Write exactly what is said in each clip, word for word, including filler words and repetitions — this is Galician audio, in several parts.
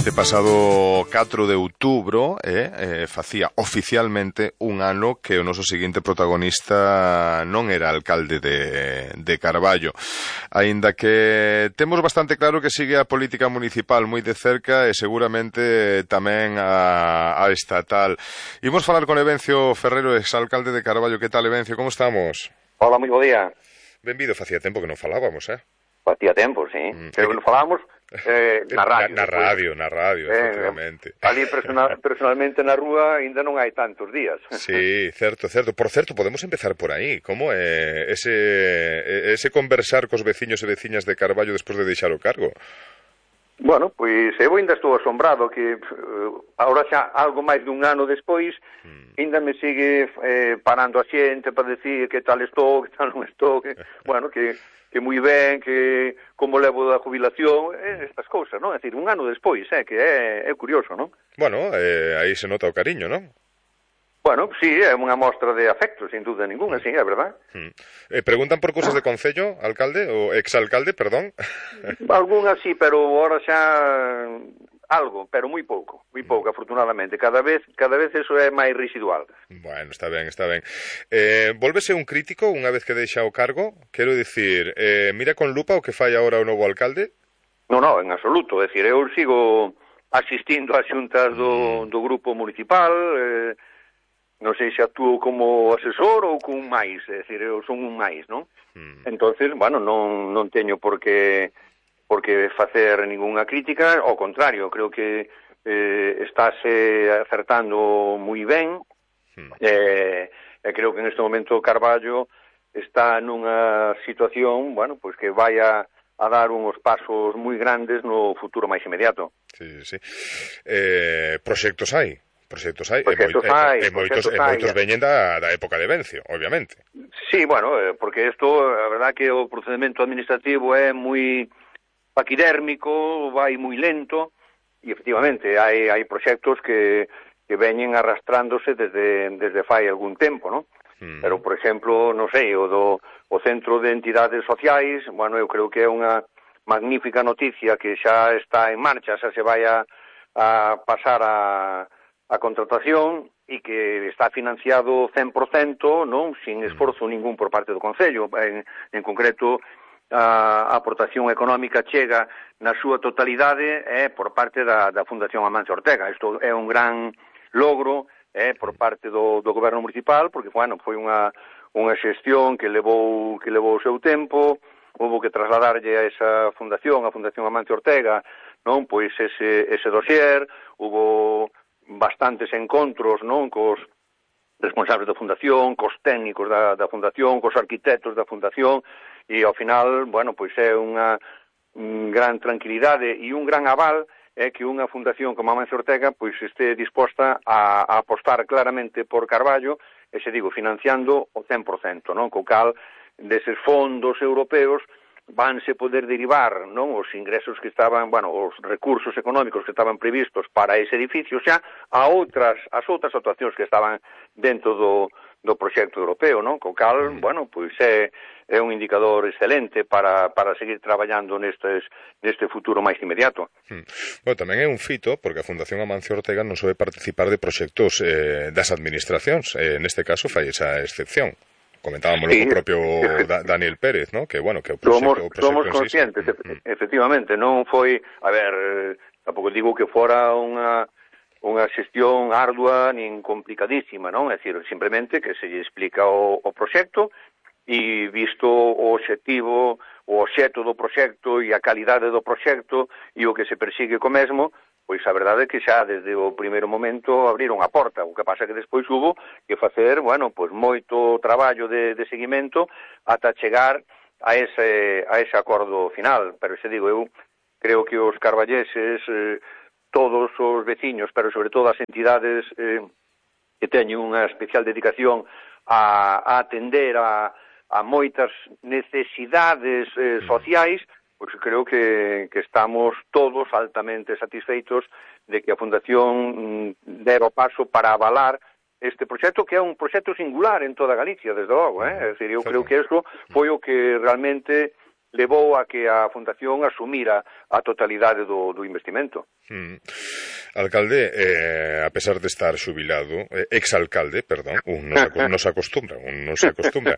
Este pasado catro de outubro eh, eh, facía oficialmente un ano que o noso seguinte protagonista non era alcalde de, de Carballo. Aínda que temos bastante claro que sigue a política municipal moi de cerca e seguramente tamén a, a estatal. Imos falar con Evencio Ferrero, exalcalde de Carballo. Que tal, Evencio? Como estamos? Hola, moi bo día. Benvido, facía tempo que non falábamos, eh? Facía tempo, sí. Mm, Pero que non falábamos eh, na radio. Na, na radio, na radio, eh, efectivamente. Ali personal, personalmente na rúa ainda non hai tantos días. Sí, certo, certo. Por certo, podemos empezar por aí. Como é ese, ese conversar cos veciños e veciñas de Carballo despois de deixar o cargo? Bueno, pois eu ainda estou asombrado que uh, agora xa algo máis dun ano despois mm. ainda me sigue eh, parando a xente para decir que tal estou, que tal non estou, que, bueno, que que moi ben, que como levo da jubilación, eh, estas cousas, non? É dicir, un ano despois, eh, que é, é curioso, non? Bueno, eh, aí se nota o cariño, non? Bueno, sí, é unha mostra de afecto, sin dúda ninguna, sí, é verdad. Hmm. Eh, preguntan por cousas de concello, alcalde, ou exalcalde, perdón? Algúnas sí, pero ahora xa algo, pero moi pouco, moi pouco, afortunadamente. Cada vez cada vez eso é máis residual. Bueno, está ben, está ben. Eh, volvese un crítico unha vez que deixa o cargo? Quero dicir, eh, mira con lupa o que fai agora o novo alcalde? Non, non, en absoluto. É dicir, eu sigo asistindo ás xuntas do, do grupo municipal, eh, non sei se actúo como asesor ou con un máis, é dicir, eu son un máis, non? Mm. Entonces, bueno, non, non teño por que, por que facer ningunha crítica, ao contrario, creo que eh, estáse acertando moi ben, mm. eh, e creo que en este momento Carballo está nunha situación, bueno, pois que vai a, a dar uns pasos moi grandes no futuro máis inmediato. Sí, sí. Eh, proxectos hai? Proxectos hai, proxectos e, moi, hai, e, e moitos, e moitos veñen da, da época de Vencio, obviamente. Sí, bueno, porque isto, a verdad que o procedimento administrativo é moi paquidérmico, vai moi lento, e efectivamente hai, hai proxectos que, que veñen arrastrándose desde, desde fai algún tempo, non? Mm. Pero, por exemplo, non sei, o do o Centro de Entidades Sociais, bueno, eu creo que é unha magnífica noticia que xa está en marcha, xa se vai a, a pasar a a contratación e que está financiado cen por cento, non, sin esforzo ningún por parte do Concello. En, en concreto, a aportación económica chega na súa totalidade é eh, por parte da, da Fundación Amancio Ortega. Isto é un gran logro eh, por parte do, do goberno municipal, porque, bueno, foi unha, unha xestión que levou, que levou o seu tempo, houve que trasladarlle a esa fundación, a Fundación Amancio Ortega, non, pois ese, ese dossier, houve bastantes encontros, non, cos responsables da fundación, cos técnicos da, da fundación, cos arquitectos da fundación, e ao final, bueno, pois é unha un gran tranquilidade e un gran aval é que unha fundación como Amancio Ortega pois este disposta a, a apostar claramente por Carballo, e se digo, financiando o cen por cento, non, co cal deses fondos europeos vanse poder derivar, non, os ingresos que estaban, bueno, os recursos económicos que estaban previstos para ese edificio xa a outras, as outras actuacións que estaban dentro do, do proxecto europeo, non? Co cal, mm. bueno, pois é, é un indicador excelente para, para seguir traballando nestes, neste futuro máis inmediato. Mm. Bueno, tamén é un fito, porque a Fundación Amancio Ortega non sobe participar de proxectos eh, das administracións, eh, neste caso fai esa excepción. Comentábamos sí, o propio da, Daniel Pérez, ¿no? Que, bueno, que o proxecto, somos, o proxecto somos conscientes, mm. efectivamente, non foi, a ver, tampouco digo que fora unha unha xestión ardua nin complicadísima, non? É dicir, simplemente que se lle explica o, o proxecto e visto o obxectivo, o obxecto do proxecto e a calidade do proxecto e o que se persigue co mesmo, pois a verdade é que xa desde o primeiro momento abriron a porta, o que pasa que despois hubo que facer, bueno, pois moito traballo de, de seguimento ata chegar a ese, a ese acordo final, pero se digo, eu creo que os carballeses, eh, todos os veciños, pero sobre todo as entidades eh, que teñen unha especial dedicación a, a atender a, a moitas necesidades eh, sociais, pois creo que, que estamos todos altamente satisfeitos de que a Fundación dera o paso para avalar este proxecto, que é un proxecto singular en toda Galicia, desde logo, eh? É dicir, eu creo que eso foi o que realmente levou a que a Fundación asumira a totalidade do, do investimento. Mm. Alcalde, eh, a pesar de estar xubilado, eh, exalcalde, perdón, un non se, no se acostumbra, un non se acostumbra,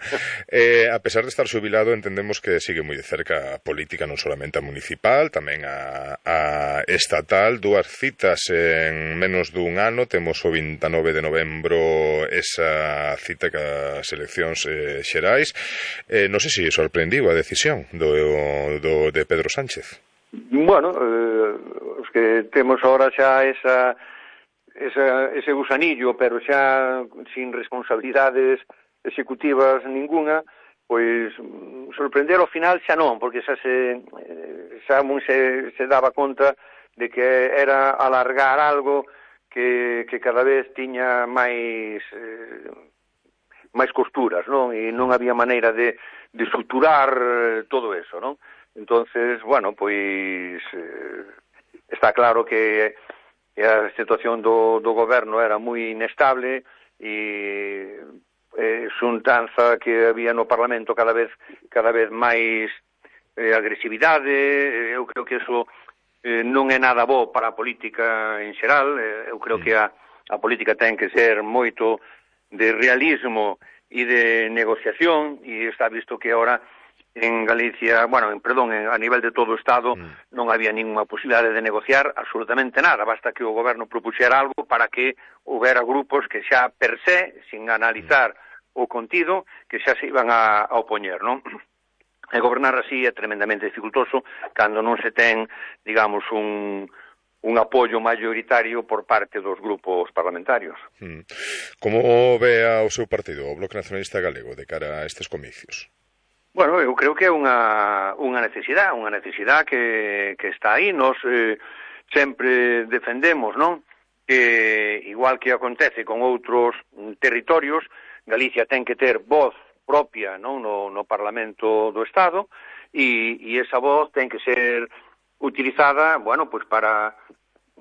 eh, a pesar de estar xubilado entendemos que sigue moi de cerca a política, non solamente a municipal, tamén a, a estatal, dúas citas en menos dun ano, temos o vinte e nove de novembro esa cita cas eleccións eh, xerais, eh, non sei se sorprendiu a decisión do, do, de Pedro Sánchez. Bueno, eh, os que temos ahora xa esa, esa, ese gusanillo, pero xa sin responsabilidades executivas ninguna, pois sorprender ao final xa non, porque xa se, xa se, se daba conta de que era alargar algo que, que cada vez tiña máis eh, máis costuras, non? E non había maneira de, de suturar todo eso, non? Entonces, bueno, pois eh, está claro que, que a situación do, do goberno era moi inestable e eh, xuntanza que había no Parlamento cada vez cada vez máis eh, agresividade. Eu creo que eso eh, non é nada bo para a política en xeral. Eh, eu creo que a, a política ten que ser moito de realismo e de negociación, e está visto que ahora en Galicia, bueno, en, perdón, en, a nivel de todo o Estado mm. non había ninguna posibilidade de negociar absolutamente nada, basta que o goberno propuxera algo para que houbera grupos que xa per se, sin analizar mm. o contido, que xa se iban a, a opoñer, non? E gobernar así é tremendamente dificultoso cando non se ten, digamos, un, un apoio maioritario por parte dos grupos parlamentarios. Mm. Como ve ao seu partido, o Bloque Nacionalista Galego, de cara a estes comicios? Bueno, eu creo que é unha, unha necesidade, unha necesidade que, que está aí. Nos eh, sempre defendemos, non? Que, igual que acontece con outros territorios, Galicia ten que ter voz propia, non? No, no Parlamento do Estado, e, e esa voz ten que ser utilizada, bueno, pois para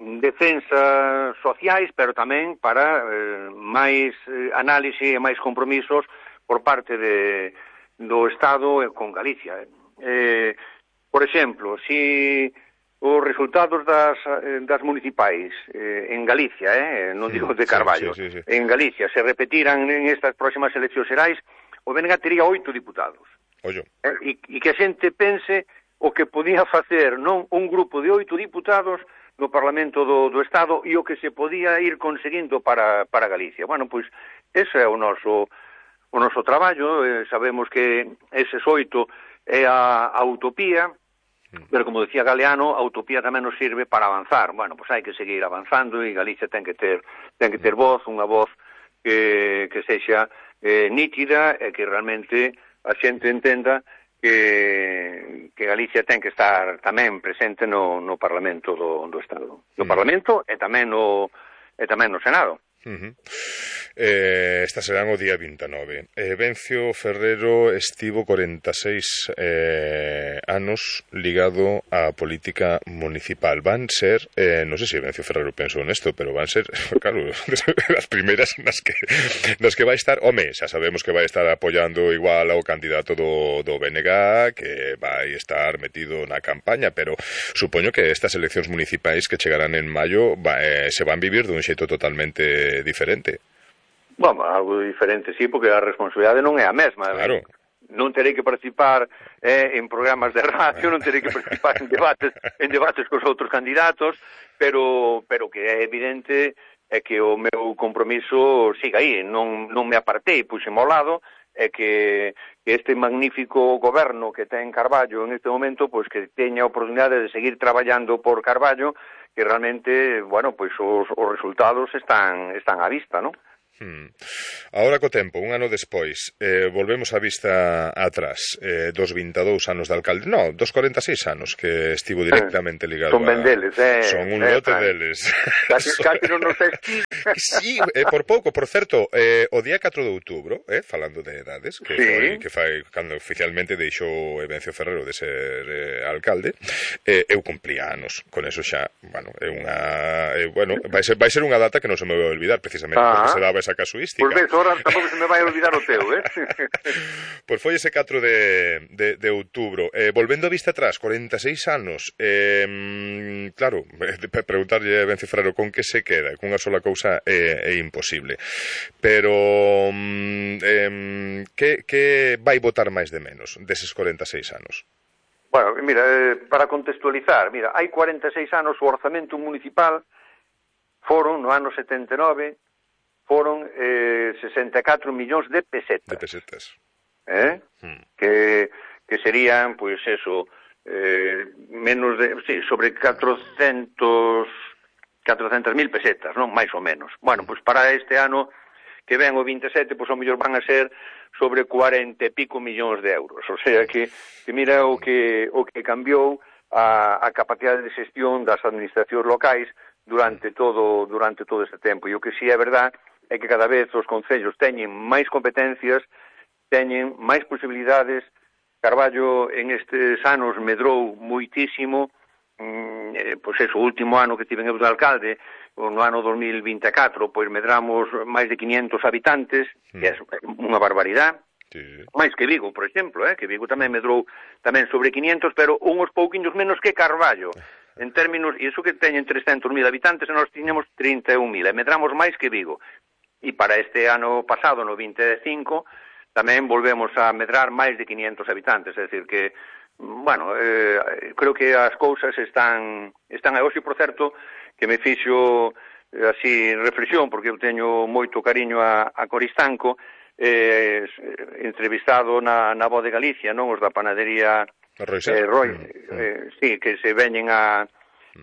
defensas sociais, pero tamén para eh, máis eh, análise e máis compromisos por parte de do Estado con Galicia. Eh, por exemplo, si os resultados das, das municipais eh, en Galicia, eh, non digo de Carballo, sí, sí, sí, sí. en Galicia se repetiran en estas próximas eleccións xerais, o B N G tería oito diputados. Ollo. Eh, e, e que a xente pense o que podía facer non un grupo de oito diputados no Parlamento do, do Estado e o que se podía ir conseguindo para, para Galicia. Bueno, pois, ese é o noso o noso traballo. Eh, sabemos que ese oito é a, a utopía, pero como decía Galeano, a utopía tamén nos sirve para avanzar. Bueno, pois hai que seguir avanzando e Galicia ten que ter ten que ter voz, unha voz que, que sexa eh, nítida e que realmente a xente entenda que, que Galicia ten que estar tamén presente no, no Parlamento do, do Estado. No Parlamento e tamén no, e tamén no Senado. Uh-huh. Eh, esta serán o día vinte e nove. eh, Vencio Ferrero estivo corenta e seis eh, anos ligado á política municipal. Van ser, eh, non sei se Vencio Ferrero pensou nesto, pero van ser, claro, as primeiras nas que, nas que vai estar. Home, xa sabemos que vai estar apoiando igual ao candidato do, do B N G, que vai estar metido na campaña, pero supoño que estas eleccións municipais que chegarán en maio va, eh, se van vivir dun xeito totalmente diferente. Bueno, algo diferente, sí, porque a responsabilidade non é a mesma. Claro. Non terei que participar eh, en programas de radio, non terei que participar en debates en debates cos outros candidatos, pero pero que é evidente é que o meu compromiso siga aí, non, non me apartei, puxeme ao lado, é que, que este magnífico goberno que ten Carballo en este momento, pois que teña a oportunidade de seguir traballando por Carballo, que realmente, bueno, pois os, os resultados están están á vista, non? Hmm. Ahora co tempo, un ano despois, eh, volvemos a vista atrás, eh, dos vinte e dous anos de alcalde, no, dos corenta e seis anos que estivo directamente ligado. Son ben deles, eh. Son un eh, lote deles. Casi, casi non nos esquí. Sí, eh, por pouco, por certo, eh, o día catro de outubro, eh, falando de edades, que sí. foi que fai cando oficialmente deixou Vencio Ferrero de ser eh, alcalde, eh, eu cumplía anos, con eso xa, bueno, é unha, eh, bueno, vai ser vai ser unha data que non se me vai olvidar precisamente, ah. porque se daba esa esa casuística. Pois ves, ahora tampouco se me vai olvidar o teu, eh? Pois foi ese catro de, de, de outubro. Eh, volvendo a vista atrás, corenta e seis anos, eh, claro, preguntarlle a Ben Cifraro con que se queda, cunha sola cousa é, é imposible. Pero eh, que, que vai botar máis de menos deses corenta e seis anos? Bueno, mira, eh, para contextualizar, mira, hai cuarenta e seis anos o orzamento municipal foron, no ano setenta e nove, foron eh, sesenta e catro millóns de pesetas. De pesetas. Eh? Hmm. Que, que serían, pois, pues, eso, eh, menos de, sí, sobre catrocentos mil pesetas, non? Mais ou menos. Bueno, pois, pues, para este ano que ven o vinte e sete, pois, pues, o mellor van a ser sobre cuarenta e pico millóns de euros. O sea, que, que mira o que, o que cambiou a, a capacidade de xestión das administracións locais durante todo durante todo este tempo. E o que si é verdad é que cada vez os concellos teñen máis competencias, teñen máis posibilidades. Carballo en estes anos medrou moitísimo, mm, eh, pois eso, o último ano que tiven eu de alcalde, no ano dos mil vinte e catro, pois medramos máis de quinientos habitantes, que é unha barbaridade. Sí. Máis que Vigo, por exemplo, eh? que Vigo tamén medrou tamén sobre quinientos, pero uns pouquiños menos que Carballo. En términos, e iso que teñen trescentos mil habitantes, e nós tiñamos trinta e un mil, e medramos máis que Vigo. E para este ano pasado, no vinte e cinco, tamén volvemos a medrar máis de quinientos habitantes, é dicir que, bueno, eh, creo que as cousas están, están a hoxe, por certo, que me fixo así reflexión, porque eu teño moito cariño a, a Coristanco, eh, entrevistado na, na Voz de Galicia, non? Os da panadería eh, Roy, eh, sí, que se veñen a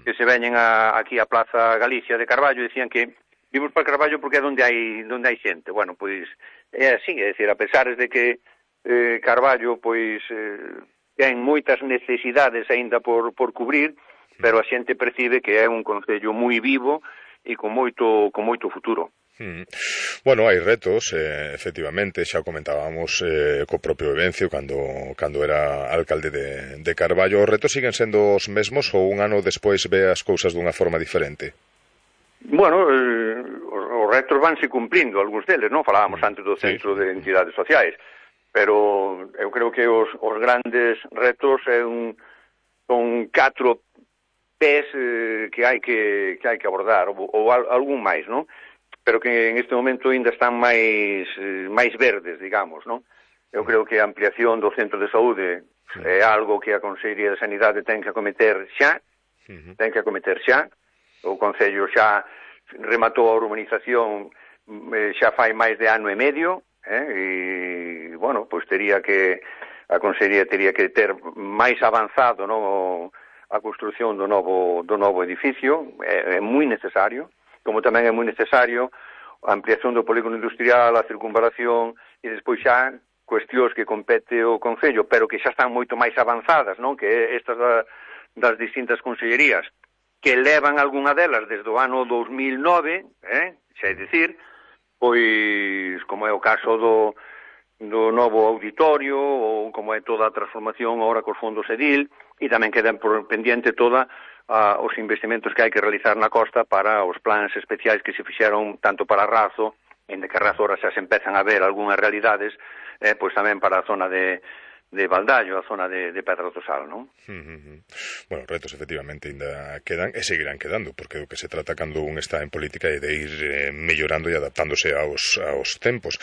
que se veñen a, aquí a Plaza Galicia de Carballo, e decían que vimos para Carballo porque é onde hai onde hai xente. Bueno, pois é así, é dicir, a pesar de que eh, Carballo pois eh, ten moitas necesidades aínda por, por cubrir, pero a xente percibe que é un concello moi vivo e con moito con moito futuro. Mm. Bueno, hai retos, eh, efectivamente, xa comentábamos eh, co propio Evencio cando, cando era alcalde de, de Carballo. Os retos siguen sendo os mesmos ou un ano despois ve as cousas dunha forma diferente? Bueno, eh, os retos vanse cumprindo, algúns deles, non? Falábamos antes do Centro sí. de Entidades Sociais, pero eu creo que os, os grandes retos é un, son catro pés eh, que hai que, que hai que abordar, ou, ou algún máis, non? Pero que en este momento ainda están máis eh, máis verdes, digamos, non? Eu creo que a ampliación do centro de saúde sí. é algo que a Consellería de Sanidade ten que acometer xa, uh-huh. ten que acometer xa. O Concello xa rematou a urbanización eh, xa fai máis de ano e medio, eh? E, bueno, pois tería que, a Consellería tería que ter máis avanzado, non? A construción do novo, do novo edificio, é, é moi necesario, como tamén é moi necesario a ampliación do polígono industrial, a circunvalación, e despois xa cuestións que compete o Concello, pero que xa están moito máis avanzadas, non? Que estas da, das distintas consellerías, que levan algunha delas desde o ano dos mil nove, eh? xa é dicir, pois como é o caso do, do novo auditorio, ou como é toda a transformación agora cos fondos Edil, e tamén quedan por pendiente toda uh, os investimentos que hai que realizar na costa para os plans especiais que se fixeron tanto para Razo, en de que Razo ahora xa se empezan a ver algunhas realidades, eh, pois tamén para a zona de, de Valdallo, a zona de, de Pedra do Sal, non? Uh-huh. Bueno, retos efectivamente ainda quedan e seguirán quedando, porque o que se trata cando un está en política é de ir eh, mellorando e adaptándose aos, aos tempos.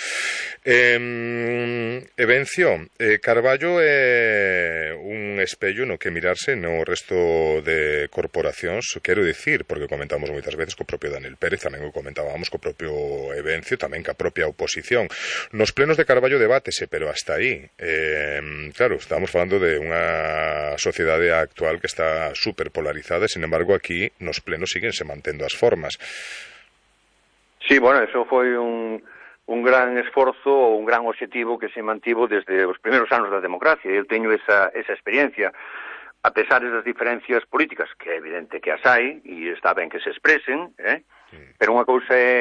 Eh, Evencio, eh, Carballo é un espello no que mirarse no resto de corporacións, quero dicir, porque comentamos moitas veces co propio Daniel Pérez, tamén o comentábamos co propio Evencio, tamén ca propia oposición. Nos plenos de Carballo debátese, pero hasta aí. Eh, Claro, estamos falando de unha sociedade actual que está super polarizada e, sin embargo, aquí nos plenos siguen se mantendo as formas. Sí, bueno, eso foi un, un gran esforzo ou un gran objetivo que se mantivo desde os primeiros anos da democracia. Eu teño esa, esa experiencia, a pesar das diferencias políticas, que é evidente que as hai, e está ben que se expresen, eh? Mm. Pero unha cousa é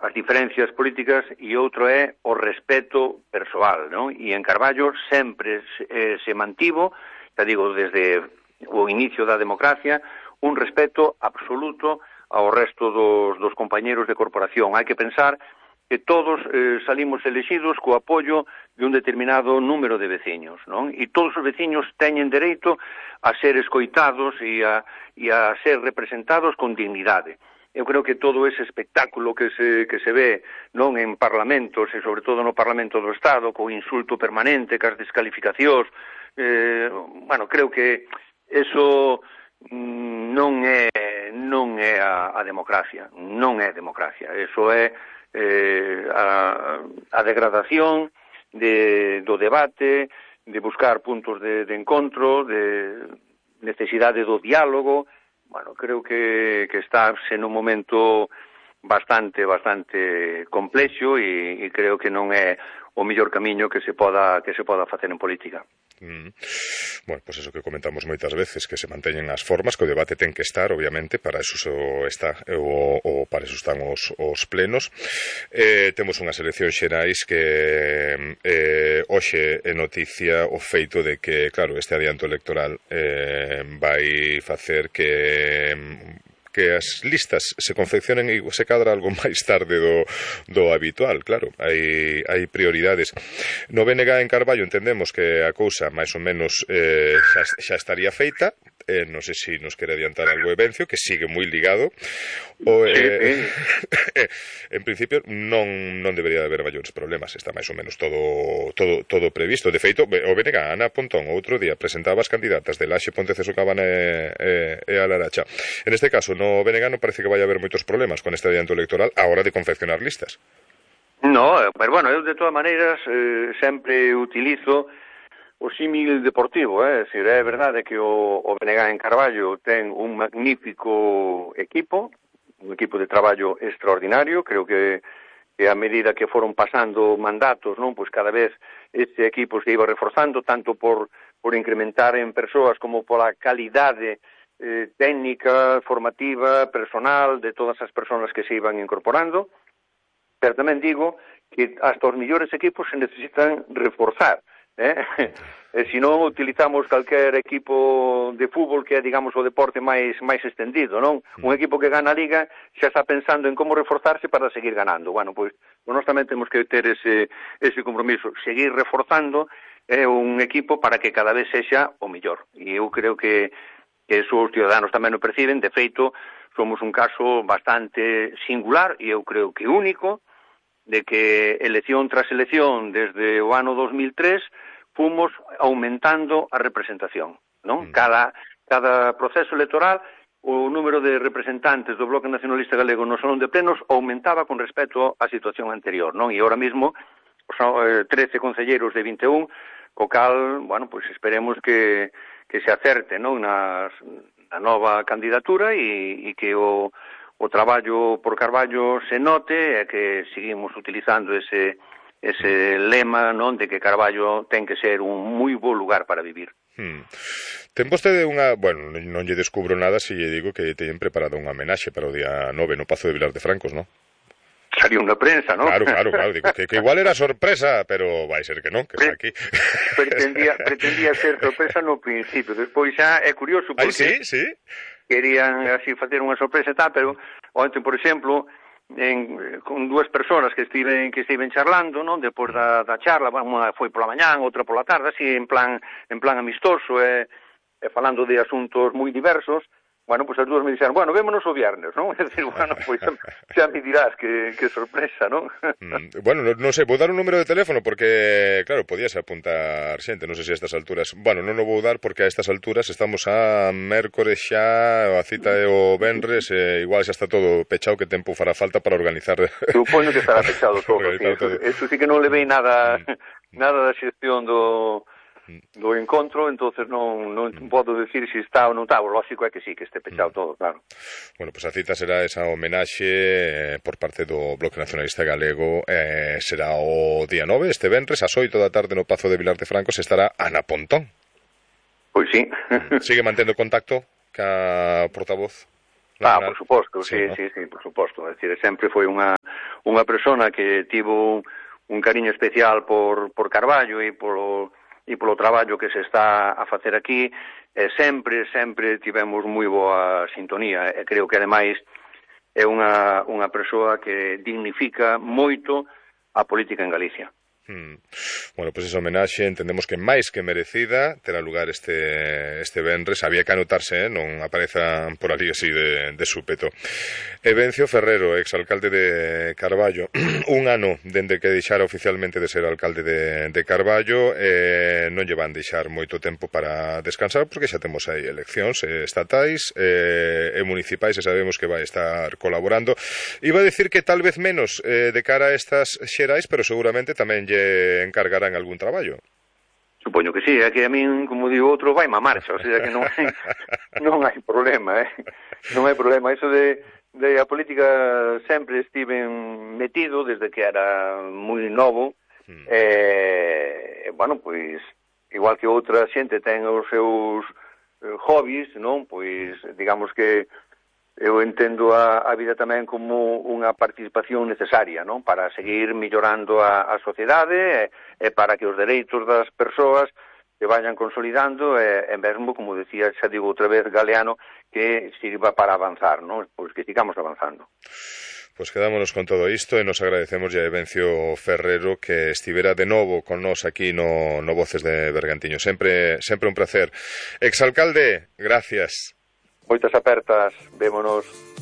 as diferencias políticas e outro é o respeto persoal, non? E en Carballo sempre se, eh, se mantivo, te digo, desde o inicio da democracia, un respeto absoluto ao resto dos, dos compañeros de corporación. Hai que pensar que todos eh, salimos elexidos co apoio de un determinado número de veciños, non? E todos os veciños teñen dereito a ser escoitados e a, e a ser representados con dignidade. Eu creo que todo ese espectáculo que se, que se ve non en parlamentos e sobre todo no Parlamento do Estado, co insulto permanente, cas descalificacións, eh, bueno, creo que eso mm, non é non é a, a democracia, non é democracia, eso é eh, a, a degradación de, do debate, de buscar puntos de, de encontro, de necesidade do diálogo. Bueno, creo que, que está en un momento bastante, bastante complexo e, e creo que non é o mellor camiño que se poda que se poda facer en política. Mm. Bueno, pois pues eso que comentamos moitas veces, que se manteñen as formas, que o debate ten que estar, obviamente, para eso está o, o para eso están os, os plenos. Eh, temos unhas eleccións xerais que eh, hoxe é noticia o feito de que, claro, este adianto electoral eh, vai facer que que as listas se confeccionen e se cadra algo máis tarde do, do habitual, claro, hai, hai prioridades. No B N G en Carballo entendemos que a cousa máis ou menos eh, xa, xa estaría feita, eh, non sei se nos quere adiantar algo Evencio, que sigue moi ligado, o, eh, en principio non, non debería de haber maiores problemas, está máis ou menos todo, todo, todo previsto. De feito, o B N G, Ana Pontón, outro día presentaba as candidatas de Laxe, Ponteceso, Cabana e, e, e a Laracha. En este caso, no B N G non parece que vai haber moitos problemas con este adianto electoral a hora de confeccionar listas. No, pero bueno, eu de todas maneiras eh, sempre utilizo o símil deportivo, eh? É dicir, é verdade que o, o B N G en Carballo ten un magnífico equipo, un equipo de traballo extraordinario. Creo que, que a medida que foron pasando mandatos, non, pois cada vez este equipo se iba reforzando, tanto por, por incrementar en persoas como pola calidade eh, técnica, formativa, personal, de todas as persoas que se iban incorporando. Pero tamén digo que hasta os millores equipos se necesitan reforzar, eh? E se non utilizamos calquer equipo de fútbol, que é, digamos, o deporte máis máis extendido, non? Un equipo que gana a Liga xa está pensando en como reforzarse para seguir ganando. Bueno, pois, nós tamén temos que ter ese, ese compromiso, seguir reforzando é un equipo para que cada vez sexa o mellor. E eu creo que, que eso os ciudadanos tamén o perciben. De feito, somos un caso bastante singular e eu creo que único, de que elección tras elección desde o ano dos mil tres fomos aumentando a representación, non? Cada, cada proceso electoral o número de representantes do Bloque Nacionalista Galego no Salón de Plenos aumentaba con respecto á situación anterior, non? E ahora mesmo son eh, trece concelleiros de vinte e un, co cal, bueno, pois esperemos que, que se acerte, non? Nas, na nova candidatura e, e que o, o traballo por Carballo se note e que seguimos utilizando ese ese lema, non, de que Carballo ten que ser un moi bo lugar para vivir. Hmm. Ten vostede unha... Bueno, non lle descubro nada se lle digo que teñen preparado unha homenaxe para o día nove no Pazo de Vilar de Francos, non? Salió unha prensa, non? Claro, claro, claro, digo que, que igual era sorpresa, pero vai ser que non, que está aquí. Pretendía, pretendía ser sorpresa no principio, despois xa é curioso porque... Ai, sí, sí. Querían así facer unha sorpresa e tal, pero ontem, por exemplo, en, con dúas persoas que estiven que estiven charlando, non, depois da, da charla, unha foi pola mañán, outra pola tarde, así en plan en plan amistoso e, e falando de asuntos moi diversos. Bueno, pois as dúas me dixeron, bueno, vémonos o viernes, non? É dicir, bueno, pois xa me dirás que, que sorpresa, non? Mm, bueno, non no sei, vou dar un número de teléfono porque, claro, podíase apuntar xente, non sei se a estas alturas, bueno, non o vou dar porque a estas alturas estamos a mércores xa, a cita é o venres, e igual xa está todo pechado, que tempo fará falta para organizar. Supoño que estará pechado todo, sí, eso, todo. Eso sí que non le vei nada, nada da xestión do... do encontro, entonces non, non mm. podo decir se está ou non está. O lógico é que sí, que este pechado mm. todo, claro. Bueno, pois pues a cita será esa homenaxe eh, por parte do Bloque Nacionalista Galego, eh, será o día nove, este venres, ás oito da tarde no Pazo de Vilar de Francos, estará Ana Pontón. Pois sí. Sigue mantendo contacto ca portavoz? Ah, por suposto, sí, sí, sí, sí, sí, por suposto. É dicir, sempre foi unha unha persona que tivo un cariño especial por, por Carballo e polo e polo traballo que se está a facer aquí, e sempre, sempre tivemos moi boa sintonía, e creo que ademais é unha, unha persoa que dignifica moito a política en Galicia. Hmm. Bueno, pois pues esa homenaxe entendemos que máis que merecida terá lugar este este venres. Había que anotarse, eh? Non aparezan por ali así de, de súpeto. Evencio Ferrero, exalcalde de Carballo, un ano dende que deixara oficialmente de ser alcalde de, de Carballo, eh, non lle van deixar moito tempo para descansar porque xa temos aí eleccións eh, estatais eh, e municipais e sabemos que vai estar colaborando. Iba a decir que tal vez menos eh, de cara a estas xerais, pero seguramente tamén encargarán algún traballo. Supoño que sí, é que a min, como digo outro, vai má marcha, o sea que non hai, non hai problema, eh? Non hai problema. Iso de, de a política sempre estiven metido desde que era moi novo, hmm. e, bueno, pois, igual que outra xente ten os seus eh, hobbies, non? Pois, digamos que eu entendo a, a vida tamén como unha participación necesaria, non? Para seguir mellorando a, a sociedade e, e para que os dereitos das persoas se vayan consolidando e, e mesmo, como decía, xa digo outra vez, Galeano, que sirva para avanzar, non? Pois que sigamos avanzando. Pois quedámonos con todo isto e nos agradecemos a Evencio Ferrero que estivera de novo con nós aquí no, no Voces de Bergantiño. Sempre, sempre un placer. Exalcalde, gracias. Moitas apertas, vémonos.